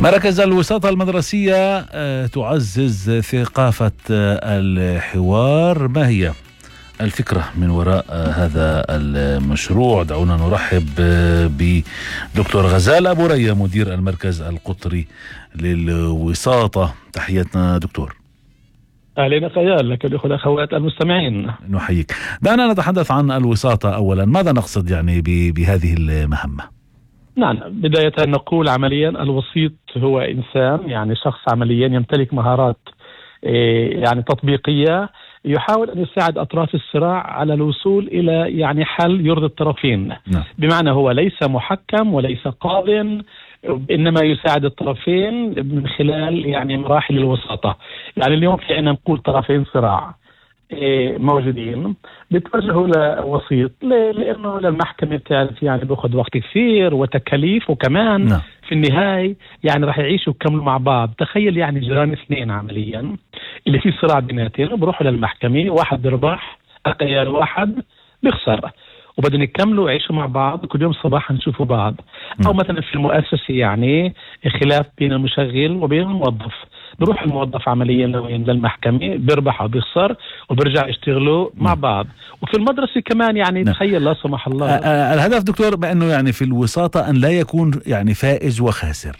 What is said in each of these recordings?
مراكز الوساطة المدرسية تعزز ثقافة الحوار. ما هي الفكرة من وراء هذا المشروع؟ دعونا نرحب بدكتور غزال أبو ريا، مدير المركز القطري للوساطة. تحياتنا دكتور. أهلا خيال لك الأخوة والأخوات المستمعين. نحييك. دعنا نتحدث عن الوساطة أولا. ماذا نقصد يعني بهذه المهمة؟ نعم، بداية نقول عمليا الوسيط هو إنسان، يعني شخص عمليا يمتلك مهارات يعني تطبيقية، يحاول أن يساعد أطراف الصراع على الوصول إلى يعني حل يرضي الطرفين. نعم. بمعنى هو ليس محكم وليس قاضٍ، إنما يساعد الطرفين من خلال يعني مراحل الوساطة. يعني اليوم في أن نقول طرفين صراع موجودين بتوجهوا لوسيط، لأنه للمحكمة بتعرف يعني بأخذ وقت كثير وتكاليف، وكمان نعم. في النهاية يعني راح يعيشوا ويكملوا مع بعض. تخيل يعني جيران اثنين عمليا اللي في صراع بيناتهم، بروحوا للمحكمة، واحد بيربح التيار واحد بيخسر، وبدهم يكملوا يعيشوا مع بعض كل يوم صباحا نشوفوا بعض. أو مثلا في المؤسسة يعني خلاف بين المشغل وبين الموظف، بروح الموظف عمليا للمحكمة، بيربح أو بيخسر، وبرجع يشتغلوا مع بعض. وفي المدرسة كمان يعني تخيل لا سمح الله. الهدف دكتور بأنه يعني في الوساطة أن لا يكون يعني فائز وخاسر.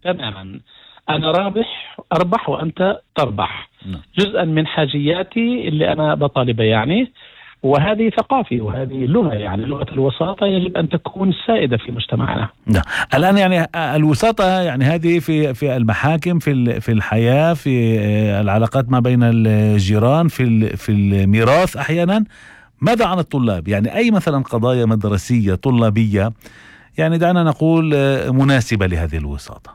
تماما، أنا رابح أربح وأنت تربح. جزءا من حاجياتي اللي أنا بطالبها يعني، وهذه ثقافة وهذه لغة، يعني لغة الوساطة يجب أن تكون سائدة في مجتمعنا. نعم. الآن يعني الوساطة يعني هذه في المحاكم، في الحياة، في العلاقات ما بين الجيران، في الميراث أحيانا. ماذا عن الطلاب؟ يعني أي مثلا قضايا مدرسية طلابية يعني دعنا نقول مناسبة لهذه الوساطة؟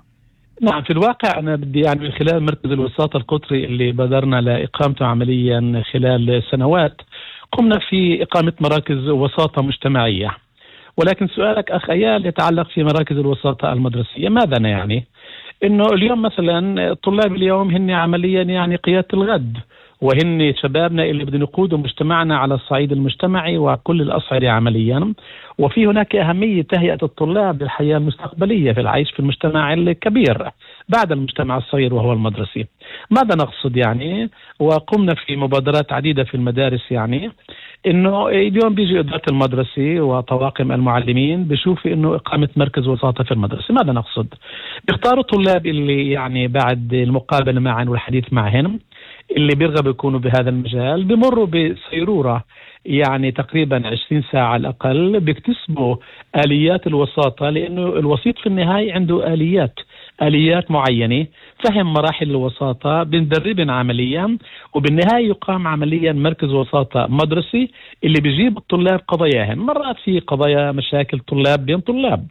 نعم، في الواقع أنا بدي يعني من خلال مركز الوساطة القطري اللي بدرنا لإقامته عمليا خلال سنوات، قمنا في إقامة مراكز وساطة مجتمعية. ولكن سؤالك أخ أيال يتعلق في مراكز الوساطة المدرسية. ماذا يعني؟ إنه اليوم مثلا الطلاب اليوم هن عمليا يعني قيادة الغد، وهن شبابنا اللي بدهم يقودوا مجتمعنا على الصعيد المجتمعي وكل الأصعدة عمليا. وفي هناك أهمية تهيئة الطلاب للحياة المستقبلية في العيش في المجتمع الكبير بعد المجتمع الصغير وهو المدرسي. ماذا نقصد يعني؟ وقمنا في مبادرات عديدة في المدارس، يعني إنه اليوم بيجي إدارة المدرسة وطواقم المعلمين بيشوفوا إنه إقامة مركز وساطة في المدرسة. ماذا نقصد؟ بيختاروا طلاب اللي يعني بعد المقابلة معهم والحديث معهم اللي بيرغبوا يكونوا بهذا المجال، بمروا بسيرورة يعني تقريبا 20 ساعة على الأقل، بيكتسبوا آليات الوساطة، لأنه الوسيط في النهاية عنده آليات معينة، فهم مراحل الوساطة، بندربن عمليا، وبالنهاية يقام عمليا مركز وساطة مدرسي اللي بيجيب الطلاب قضاياهم. مرات في قضايا مشاكل طلاب بين طلاب،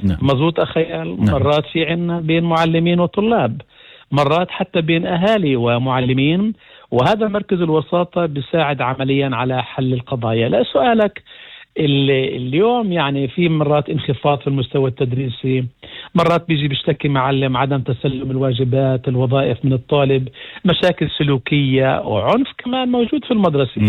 مزبوط أخيال، مرات في عنا بين معلمين وطلاب، مرات حتى بين أهالي ومعلمين. وهذا مركز الوساطة بيساعد عمليا على حل القضايا. لا سؤالك اليوم يعني في مرات انخفاض في المستوى التدريسي، مرات بيجي بيشتكي معلم عدم تسلم الواجبات الوظائف من الطالب، مشاكل سلوكية وعنف كمان موجود في المدرسة.